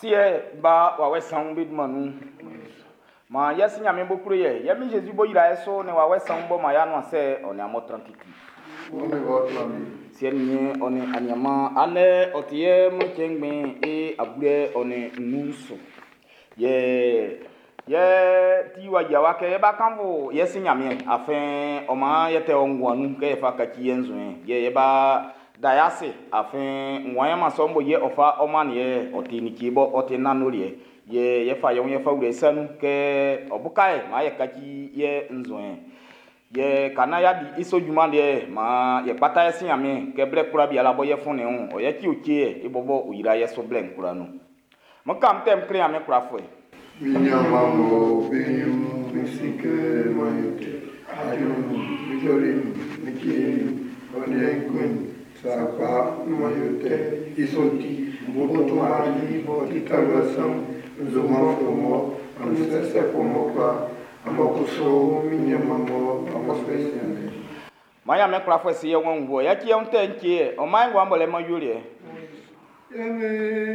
Siɛ, Ba, Wawɛ Sanwun be dunman nun. Maan yɛ Si Nyanmiɛn b'ɔ klo ye, yɛ Min Jésus b'ɔ yra ye su nin Wawɛ Sanwun b'ɔ man y'a nuan sɛ, ɔ nin amun tran titi. Siɛ nin niɛn ɔ nin aniaanman, andɛ ɔ ti yɛ Mlɔn cɛn ngbɛn i abulɛ ɔ nin nnun su. Yɛ yɛ ti wa yia wa kɛ yɛ ba kanfo yɛ Si Nyanmiɛn, afin ɔ man yɛ tɛ o nguan nun kɛ yɛ fa kaci yɛ nzuɛn. Yɛ yɛ ba da yɛ ase, afin nguan yɛ man sɔ'n bo yɛ ɔ fa ɔ man yɛ ɔ ti like bɔ ɔ ti nanndoliɛ. Yɛ yɛ fa yɛ wun yɛ fa wlɛ i sa nun kɛ ɔ buka yɛ man yɛ kaci yɛ nzuɛn. Yɛ ka naan y'a di i sɔ junman liɛ, maan yɛ kpata yɛ Si Nyanmiɛn kɛ blɛ kwlaa biala bɔ yɛ fɔn nin ɔ yɛ ci o ce yɛ i bɔbɔ o yra yɛ so blɛ'n kwlaa nun. Mo kam tɛm kle Nyanmiɛn kwlafuɛ. Mi nyanman bɔ be nyrun mi si kɛ man yo tɛ, ajo nun, mi jɔli nun, mi tie nun, ɔ nin aenguɛ nun, sakpa man yo tɛ. I sɔ'n ti, m bo to Mari b'ɔ ti talua saun, n zoman fɔ mɔ, amun sɛsɛ fɔ mɔ kpa, amun kusu mi nyanman mɔ amun fɛ sianlɛ. Man Nyanmiɛn kwlafuɛ si yɛ wɔn wɔ, yɛ ti yɛ tɛ n tie, ɔ man nguan bɔ lɛ man yoli yɛ. Yɛmɛ